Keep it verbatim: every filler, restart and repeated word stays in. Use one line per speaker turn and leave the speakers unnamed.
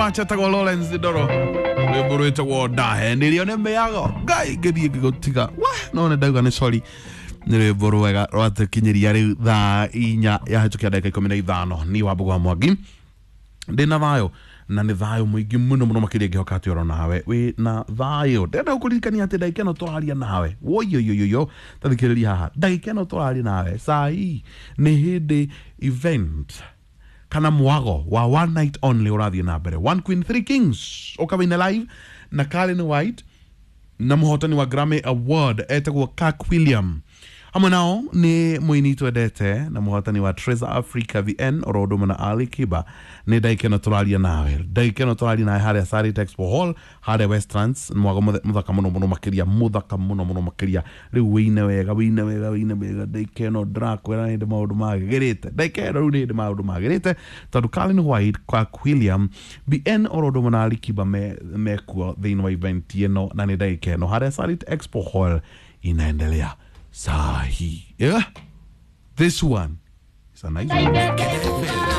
much. Etagwo Lawrence Ndoro, rwĩmbo rwĩtagwo Ndahenirio nĩ mĩago. Ngai ngĩthiĩ ngĩgũtiga we, no nĩ ndauga nĩ sorry. Nĩ rwĩmbo rwega rwatũkinyĩria rĩu thaa inya yahĩtũkia ndagĩka ikũmi na ithano. Ni wa Mbũgũ wa Mwangi, ndĩna thayũ na nĩ thayũ mũingĩ mũno mũno makĩria. Ngĩhoka atĩ oro nawe wĩ na thayũ. Ndĩrenda gũkũririkania atĩ ndagĩka ĩno tũraria nawe, woiyoyoyoyo, tathikĩrĩria haha, ndagĩka ĩno tũraria nawe sai nĩ hĩndĩ event kana mwago wa one night only ũrathiĩ na mbere, One Queen Three Kings, ũkawĩna live na Karen White na mũhotani wa Grammy Award etagwo Kirk William. Hamwe nao nĩ mũini twendete na mũhotani wa Treasure Africa V N, oro ũndũ ũmwe na Ali Kiba. Nĩ ndagĩka ĩno tũraria nawe, ndagĩka ĩno tũraria nawe harĩa Sarit Expo Hall harĩa Westlands. Mwago mũthe- mũthaka mũno mũno makĩria, mũthaka mũno mũno makĩria. Rĩu wĩine wega, wĩine wega, wĩine wega. Ndagĩka ĩno ndĩrakwĩra nĩ hĩndĩ maũndũ magĩrĩte. Ndagĩka ĩno rĩu nĩ hĩndĩ maũndũ magĩrĩte, tondũ Colin White, Kirk William, B N, oro ũndũ ũmwe na Ali Kiba me mekuo thĩinĩ wa event ĩno, na nĩ ndagĩka ĩno harĩa Sarit Expo Hall inaendelea saa hii, yeah? This one is a nice one.